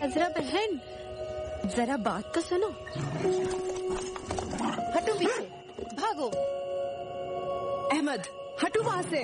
अजरा बहन, जरा बात तो सुनो। हटो पीछे, भागो। अहमद, हटो वहां से।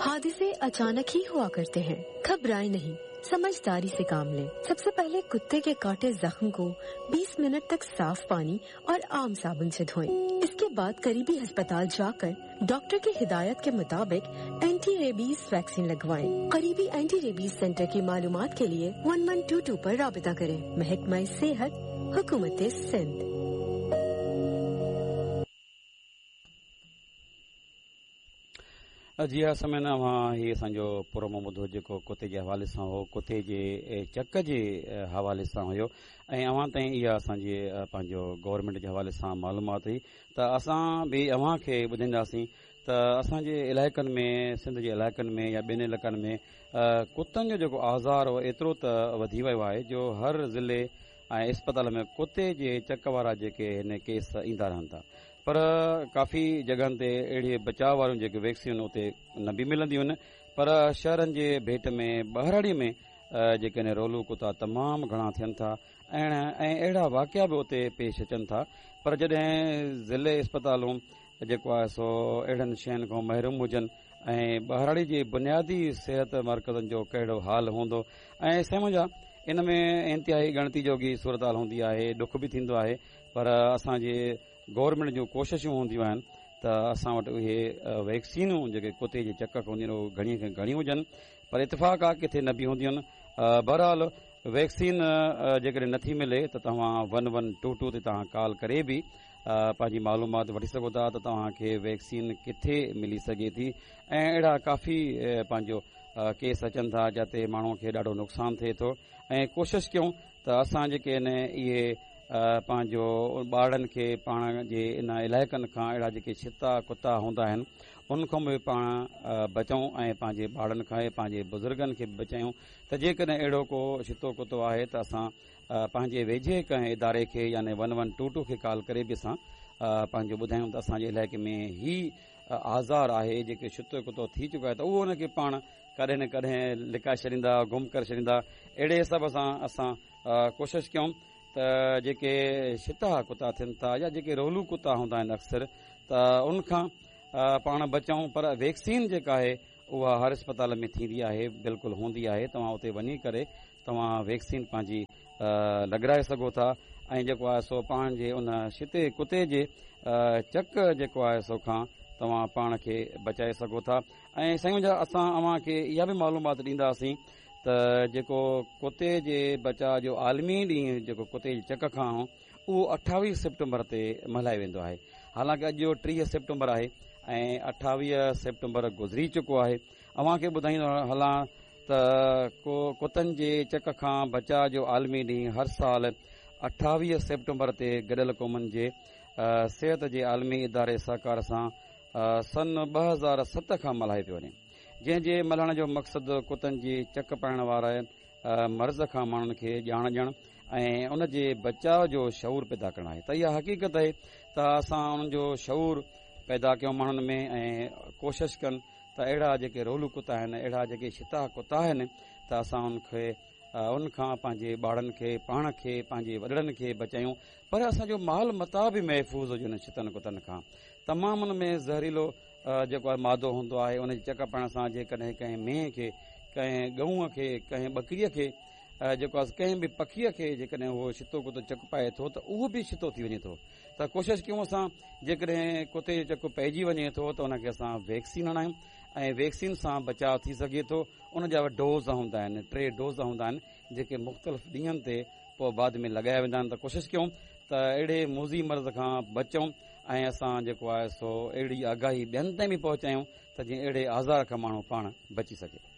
हादसे अचानक ही हुआ करते हैं, घबराए नहीं, समझदारी से काम लें। सबसे पहले कुत्ते के काटे जख्म को 20 मिनट तक साफ पानी और आम साबुन से धोएं। इसके बाद करीबी अस्पताल जाकर डॉक्टर की हिदायत के मुताबिक एंटी रेबीज वैक्सीन लगवाएं। करीबी एंटी रेबीज सेंटर की मालूमात के लिए 1122 पर राबिता करें। महकमा सेहत, हुकूमत सिंध। जी हा समेन, अव्हां ही असांजो प्रोमो ॿुधो जेको कुते जे हवाले सां हो, कुते जे चक जे हवाले सां हुयो ऐं अव्हां ताईं इहा असांजी पंहिंजो गवर्नमेंट जे हवाले सां मालूमात हुई। त असां बि अव्हां खे ॿुधाईंदासीं त असांजे इलाइक़नि में, सिंध जे इलाइक़नि में या ॿियनि इलाइक़नि में कुतनि जो जेको आज़ार हो एतिरो त वधी वियो आहे जो हर ज़िले ऐं इस्पताल में कुते जे चक वारा जेके हिन केस ईंदा रहनि था, पर काफ़ी जॻहनि ते अहिड़ी बचाव वारियूं जेके वैक्सीन उते न बि मिलंदियूं आहिनि, पर शहरनि जे भेंट में ॿहिराड़ीअ में जेके आहिनि रोलू कुता तमामु घणा थियनि था ऐं अहिड़ा वाक़िया बि उते पेश अचनि था। पर जॾहिं ज़िले इस्पतालूं जेको आहे सो अहिड़नि शयुनि खां महरूम हुजनि ऐं ॿहिराड़ी जे बुनियादी सिहत मर्कज़नि जो कहिड़ो हाल हूंदो ऐं साईं इन में इंतिहाई ॻणती जोगी सूरत हाल हूंदी आहे, ॾुख बि थींदो आहे, पर असांजे गवर्नमेंट जूं कोशिशूं हूंदियूं आहिनि त असां वटि उहे वैक्सीनूं जेके कुते जे चक खां हूंदियूं आहिनि उहे घणी खां घणियूं हुजनि, पर इतफ़ाक़ आहे किथे न बि हूंदियूं आहिनि। बहरहाल वैक्सीन जेकॾहिं नथी मिले त तव्हां 1122 ते तव्हां कॉल करे बि पंहिंजी मालूमात वठी सघो था त तव्हांखे वैक्सीन किथे मिली सघे थी। ऐं अहिड़ा काफ़ी पंहिंजो केस अचनि था जिते माण्हूअ खे ॾाढो नुक़सानु थिए थो ऐं कोशिशि कयूं त असां जेके आहिनि इहे पंहिंजो ॿारनि खे पाण जे इन इलाइक़नि खां अहिड़ा जेके छिता कुता हूंदा आहिनि उन खां बि पाण बचूं ऐं पंहिंजे ॿारनि खां पंहिंजे बुज़ुर्गनि खे बि बचायूं त जेकॾहिं अहिड़ो को छितो कुतो आहे त असां पंहिंजे वेझे कंहिं इदारे खे यानी 1122 खे कॉल करे बि असां पंहिंजो ॿुधायूं त असांजे इलाइक़े में ही आज़ार आहे जेके छितो कुतो थी चुको आहे त उहो हुनखे पाण कॾहिं न कॾहिं लिकाए छॾींदा, गुम करे छॾींदा। अहिड़े हिसाब सां असां कोशिशि कयूं त जेके छिता कुता थियनि था या जेके रोलू कुता हूंदा आहिनि अक्सर त उन खां पाण बचूं, पर वैक्सीन जेका आहे उहा हर अस्पताल में थींदी आहे, बिल्कुलु हूंदी आहे। तव्हां उते वञी करे तव्हां वैक्सीन पंहिंजी लॻाए सघो था ऐं जेको आहे सो पंहिंजे उन छिते कुते जे चक जेको आहे सो खां तव्हां पाण खे बचाए सघो था। ऐं साईं जा असां अव्हां खे इहा बि मालूमात ॾींदासीं त जेको कुते जे बचाव जो आलमी ॾींहुं जेको कुते जे चक खां हो उहो 28 सेप्टेम्बर ते मल्हायो वेंदो आहे। हालांकि अॼु 30 सेप्टेम्बर आहे ऐं 28 सेप्टेम्बर गुज़री चुको आहे। अव्हां खे ॿुधाईंदो हलां त कुतनि जे चक खां बचाव जो आलमी ॾींहुं हर साल 28 सेप्टेम्बर ते गॾियल क़ौमनि जे सिहत जे आलमी इदारे सहकार सां सन 2007 खां मल्हायो पियो वञे, जंहिंजे मल्हाइण जो मक़सदु कुतनि जे चक पाइण वारे मर्ज़ खां माण्हुनि खे ॼाण ॾियणु ऐं उन जे बचाव जो शऊर पैदा करणु आहे। त इहा हक़ीक़त आहे त असां उन्हनि जो शऊर पैदा कयूं माण्हुनि में ऐं कोशिशि कनि त अहिड़ा जेके रोलू कुता आहिनि, अहिड़ा जेके छिता कुता आहिनि त असां उनखे उन खां पंहिंजे ॿारनि खे, पाण खे, पंहिंजे वॾड़नि खे बचायूं, पर असांजो माल मता बि महफ़ूज़ हुजे उन छितनि कुतनि खां। तमामु उन में ज़हरीलो जेको आहे मादो हूंदो आहे, उन जे चक पाइण सां जेकॾहिं कंहिं मेंहं खे, कंहिं ॻऊं खे, कंहिं ॿकरीअ खे जेको आहे कंहिं बि पखीअ खे जेकॾहिं उहो छितो कुतो चक पाए थो त उहो बि छितो थी वञे थो। त कोशिशि कयूं असां जेकॾहिं कुते जो चक पइजी वञे थो त उनखे असां वैक्सीन हणायूं ऐं वैक्सीन सां बचाव थी सघे थो। उन जा डोज़ हूंदा आहिनि, 3 डोज़ हूंदा आहिनि जेके मुख़्तलिफ़ ॾींहंनि ते पोइ बाद में लॻाया वेंदा आहिनि। त कोशिशि कयूं त अहिड़े मूज़ी मर्ज़ खां बचूं ऐं असां जेको आहे सो अहिड़ी आगाही ॿियनि ताईं बि पहुचायूं त जीअं अहिड़े आज़ार खां माण्हू पाण बची सघे।